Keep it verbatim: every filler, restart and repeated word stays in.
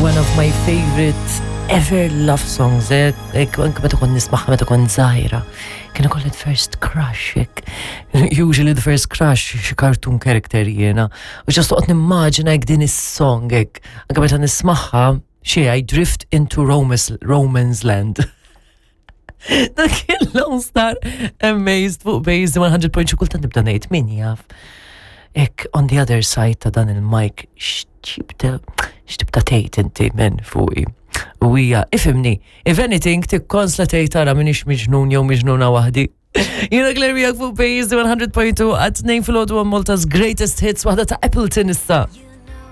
One of my favorite ever love songs, eh? Ek, anke meta kont nismagħha meta kont żgħira. Kien ikolli the first crush, ek. Usually the first crush, xi cartoon character jiena. U just toqgħod nimmaġina hekk din is-song, ek. Anke meta nismagħha, xi I drift into Romance, Romance land. Dak kien Lone Star Amazed fuq Base one hundred point two. Kultant nibda ngħid, min jaf. Ek on the other side ta' dan il-mic, x'tibda x'tibda tgħid inti men fuqi. U hija, ifhimni, if anything tikkonsla tgħid tara minix miġnun jew miġnuna waħdi. Jiena Claire miegħek fuq Base one hundred point two għat-tnejn filgħodu, Malta's Greatest Hits, waħda ta' Appleton issa.